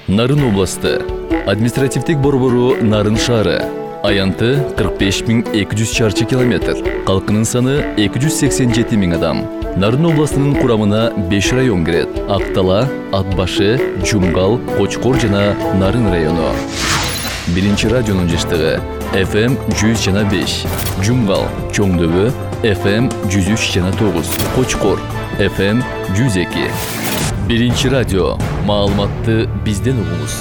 Нарын областы. Административдик борбору Нарын шаары. Аянты 45.200 чарчы километр. Калкынын саны 287 000 адам. Нарын областынын курамына 5 район кирет. Актала, Атбашы, Жумгал, Кочкор жана Нарын району. Биринчи радионун жыштыгы FM 100,5, Жумгал, Чоңдөбө, FM 103,9, Кочкор, FM 102. Биринчи радио. Маалыматты бизден угуңуз.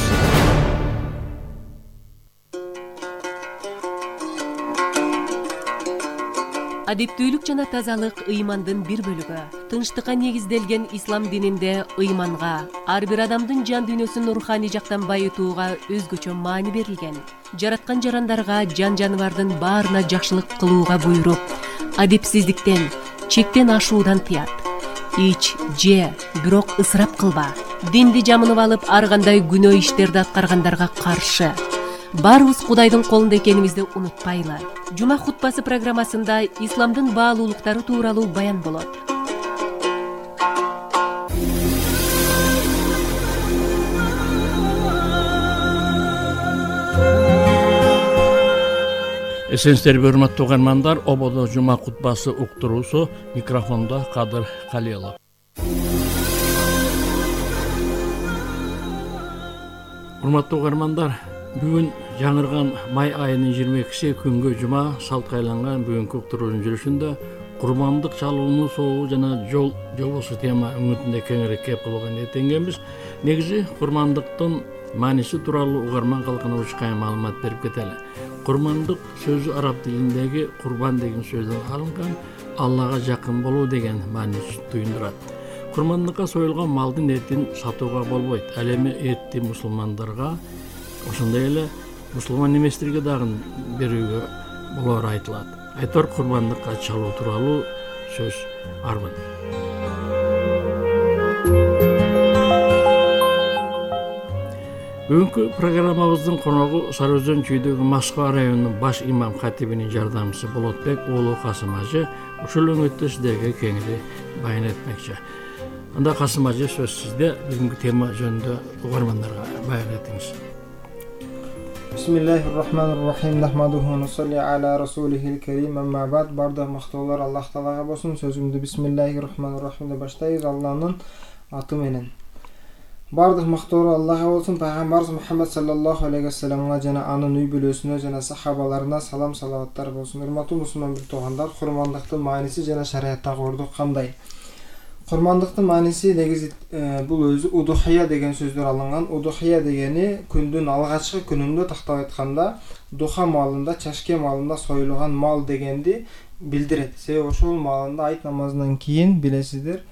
Адептүүлүк жана тазалык ыймандын бир бөлүгү. Тынчтыкка негизделген ислам дининде ыйманга, ар бир адамдын жан дүйнөсүн руханий жактан байытууга өзгөчө маани берилген. Жараткан жарандарга, жан-жаныбардын баарына жакшылык кылууга буйруп, адепсиздиктен, чектен ашуудан тыят. Ич, же, бирок ысырап кылба. Динди жамынып алып, ар кандай күнөө иштерди аткаргандарга каршы. Баарыбыз Кудайдын колунда экенибизди унутпайлы. Жума хутбасы программасында исламдын баалуулуктары тууралуу баян болот. Эсенсиздерби, урматтуу угармандар, ободо жума хутбасы уктуруусу, микрофондо Кадыр Калиелов. Урматтуу угармандар, бүгүн жаңырган май айынын 22 күнгө жума салтка айланган бүгүнкү уктуруунун жүрүшүндө курмандык чалуунун соогу жана жол жобосу тема үмүтүндө кеңирээк кеп кылууга ниеттенгенбиз. Негизи курмандыктын мааниси тууралуу угарман калкынович кайым маалымат берип кетели. Курмандык сөзү араб тилиндеги курбан деген сөздөн алынган, Аллага жакын болуу деген мааниси туюндурат. Курмандыкка союлган малдын этин сатууга болбойт. Ал эми этти мусулмандарга, ошондой эле мусулман эместерге дагы берүүгө болоору айтылат. Айтор курмандыкка чалуу тууралуу сөз арбын. Бүгүнкү программабыздын коногу Сары Өзөн чүйдөгү Москва районунун баш имам катибинин жардамчысы Болотбек уулу Касым ажы ушул өңөттө сиздерге кеңири баян этмекчи. Анда Касым ажы, сөз сизде. Бүгүнкү тема жөнүндө угармандарга баян этиңиз. Бисмиллахир-рахманир-рахим. Нахмадуху ва нусалли аля расулихил карим. Амма бад. Бардык мактоолор Аллах Таалага болсун. Сөзүмдү Бисмиллахир-рахманир-рахим деп баштайбыз. Алланын аты менен. Бардык мактоолор Аллага болсун. Пайгамбарыбыз Мухаммад саллаллаху алейхи вассаламга жана анын үй бүлөсүнө жана сахабаларына салам салаваттар болсун. Урматтуу мусулман бир туугандар, курмандыктын мааниси жана шариаттагы орду кандай? Курмандыктын мааниси негизи бул өзү удухия деген сөздөр алынган. Удухия дегени күндүн алгачкы күнүндө, тактап айтканда, духа маалында, чашке маалында союлган мал дегенди билдирет. Себеби ошол маалында айт намазынан кийин билесиздер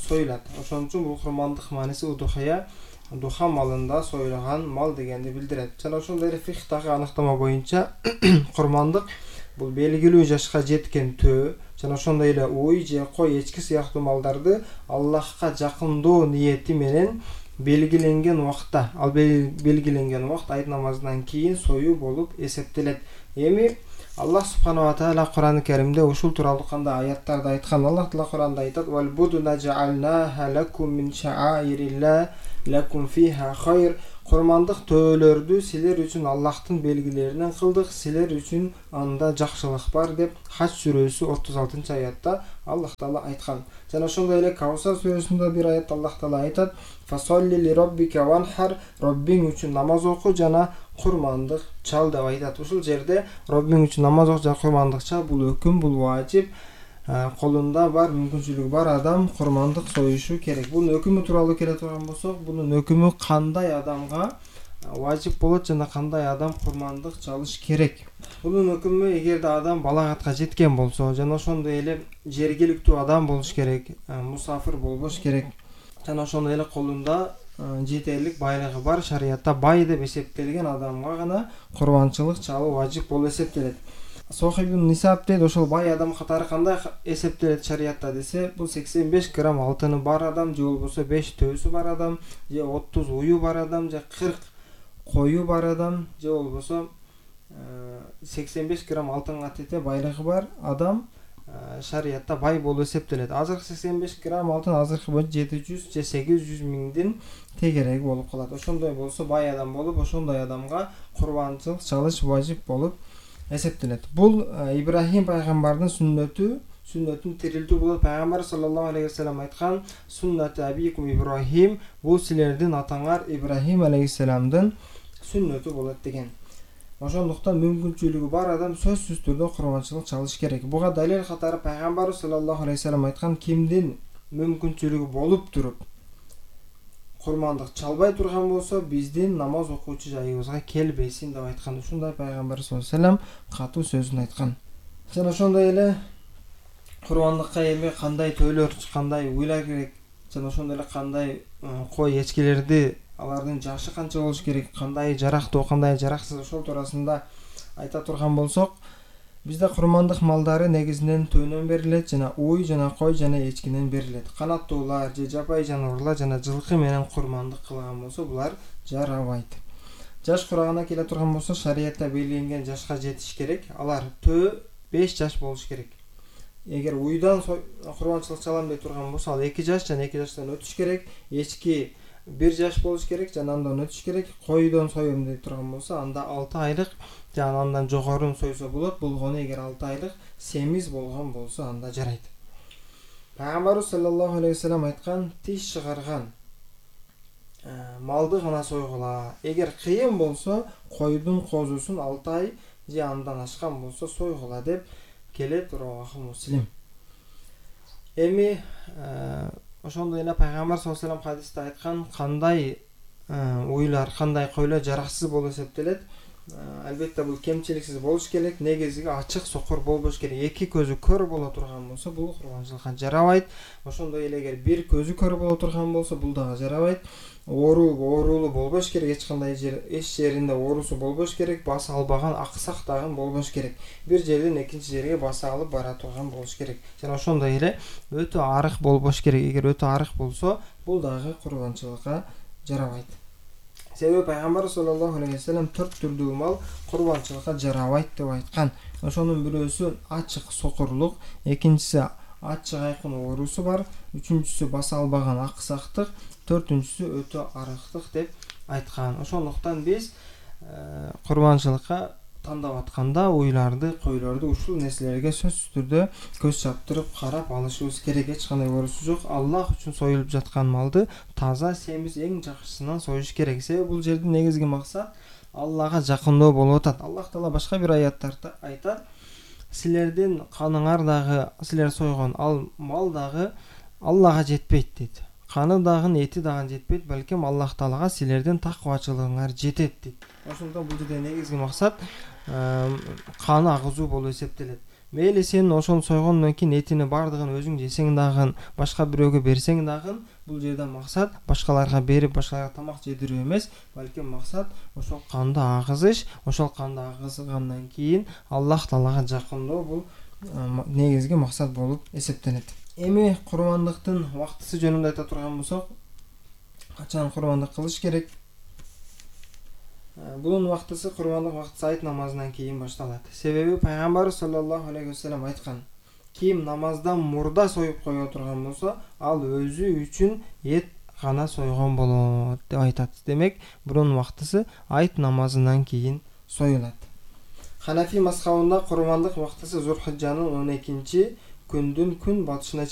союлат. Ошон үчүн бул курмандык мааниси удухия, духа маалында союлган мал дегенди билдирет. Жана ошондой эле фихтагы аныктама боюнча курмандык бул белгилүү жашка жеткен төө жана ошондой эле уй же кой, эчки сыяктуу малдарды Аллахка жакындоо ниети менен белгиленген убакта, ал белгиленген убакт айт намазынан кийин союу болуп эсептелет. Эми Аллах субханала таала Кур'ан-ы Каримде ушул тууралуу кандай аяттарды айткан? Аллах Таала Кур'анда айтат: "Вал будуна жаалнаха лакум мин шааирилла лакум фиха хайр". Курмандык төөлөрдү силер үчүн Аллахтын белгилеринен кылдык, силер үчүн анда жакшылык бар деп Хач сүрөсү 36-аятта Аллах Таала айткан. Жана ошондой эле Каусар сүрөсүндө бир аятта Аллах Таала айтат: "Фасолли ли роббика ванхар", Роббиң үчүн намаз оку жана курмандык чал деп айтат. Ушул жерде Роббиң үчүн намаз оку жана курмандык чал бул өкүм, бул важип. Колунда бар, мүмкүнчүлүгү бар адам курмандык союшу керек. Бунун өкүмү тууралуу келе турган болсок, бунун өкүмү кандай адамга важип болот жана кандай адам курмандык чалыш керек? Бунун өкүмү эгерде адам балагатка жеткен болсо, жана ошондой эле жергиликтүү адам болуш керек, мусафир болбош керек. Жана ошондой эле колунда жетерлик байлыгы бар, шариятта бай деп эсептелген адамга гана курманчылык чалуу важип болуп эсептелет. Сохибун Нисаб дейт, ошол бай адам катары кандай эсептелет шариятта десе, бул 85 грамм алтыны бар адам, же болбосо 5 төөсү бар адам, же 30 уyu бар адам, же 40 кою бар адам, же болбосо 85 грамм алтынга тете байлыгы бар адам шариятта бай болуп эсептелет. Азыркы 85 грамм алтын азыркы боюнча 700 же 800 миңдин тегереги болуп калат. Ошондой болсо бай адам болуп, ошондой адамга курбанчылык чалыш важип болуп эсептелет. Бул Ибрахим пайгамбардын сүннөтүн тирилтүү болот. Пайгамбар саллаллаху алейхи вассалам айткан: "Суннату абикум Ибрахим", бул силердин атаңар Ибрахим алейхиссаламдын сүннөтү болот деген. Ошондуктан мүмкүнчүлүгү бар адам сөзсүз түрдө курбанчылык чалыш керек. Буга далил катары пайгамбар саллаллаху алейхи вассалам айткан: "Кимдин мүмкүнчүлүгү болуп туруп курмандык чалбай турган болсо, биздин намаз окуучу жайыбызга келбесин" деп айткан. Ушундай пайгамбар саллаллаху алейхи вассалам катуу сөзүн айткан. Жана ошондой эле курбандыкка эми кандай төйлөр, кандай уйлар керек, жана ошондой эле кандай кой эчкилерди, алардын жашы канча болуш керек, кандай жарактуу, кандай жараксыз, ошол туурасында айта турган болсок, бизде курмандык малдары негизинен төөнөн берилет, жана уй, жана кой, жана эчкинен берилет. Канаттуулар же жапай жаныбарлар жана жылкы менен курмандык кылган болсо, булар жарабайт. Жаш курагына келе турган болсо, шариятта белгиленген жашка жетиш керек. Алар 5 жаш болуш керек. Эгер уйдан курбанчылык чалам деп турган болсо, ал 2 жаш жана 2 жаштан өтүш керек. Эчки 1 жаш болуш керек жана андан өтүш керек. Койдон союм деп турган болсо, анда 6 айлык жана андан жогорун сойсо болот. Болгону эгер 6 айлык семиз болгон болсо, анда жарайт. Пайгамбар саллаллаху алейхи вассалам айткан: "Тиш чыгарган малды гана сойгула. Эгер кыйын болсо, койдун козусун 6 ай же андан ашкан болсо сойгула" деп келет Равахы Муслим. Эми ошондой эле пайгамбар саллаллаху алейхи вассалам хадисте айткан кандай уйлар, кандай койлор жараксыз болуп эсептелет. Албетте бул кемчиликсиз болуш керек. Негизги ачык сокур болбош керек. Эки көзү көр боло турган болсо, бул курбанчылыкка жарабайт. Ошондой эле эгер бир көзү көр боло турган болсо, бул дагы жарабайт. Оорулуу болбош керек, эч кандай эч жеринде оорусу болбош керек, баса албаган, аксак дагы болбош керек. Бир жерден экинчи жерге баса алып бара турган болуш керек. Жана ошондой эле өтө арык болбош керек. Эгер өтө арык болсо, бул дагы курбанчылыкка жарабайт. Себеби пайгамбар саллаллаху алейхи вассалам 4 түрдүү мал курбанчылыкка жарабайт деп айткан. Ошонун бирөөсү ачык сокурлук, экинчиси ачык айкын оорусу бар, үчүнчүсү баса албаган аксактык, төртүнчүсү өтө арыктык деп айткан. Ошондуктан биз курбанчылыкка тандап атканда уйларды, койлорду ушул нерселерге сөзсүз түрдө көз чаптырып карап алышыбыз керек. Эч кандай оорусу жок. Аллах үчүн союлуп жаткан малды таза, семиз, эң жакшысынан союш керек. Себеби бул жердин негизги максат Аллахка жакындоо болуп атат. Аллах Таала башка бир аяттарда айтат: "Силердин каныңар дагы, силер сойгон ал мал дагы Аллахка жетпейт" дейт. Каны дагы, эти дагы жетпейт, балким Аллах Таалага силердин таквачылыгыңар жетет дейт. Ошондон бул жерде негизги максат каны агызуу болуп эсептелет. Мейли сен ошол сойгондон кийин этини бардыгын өзүң жесең дагы, башка бирөөгө берсең дагы, бул жерде максат башкаларга берип, башкаларга тамак жедирүү эмес, балким максат ошол канды агызыш. Ошол канды агызгандан кийин Аллах Таалага жакындоо, бул негизги максат болуп эсептелет. Эми курбандыктын убактысы жөнүндө айта турган болсок, качан курбандык кылыш керек? Bunun убактысы, курбандык убактысы айт намазынан кийин башталат. Себеби пайгамбар саллаллаху алейхи вассалам айткан: "Ким намаздан мурда союп кое турган болсо, ал өзү үчүн эт гана сойгон болот" деп айтат. Демек, bunun убактысы айт намазынан кийин союлат. Ханафи мазхабында курбандык убактысы Зулхижжанын 12-күндүн күн батышына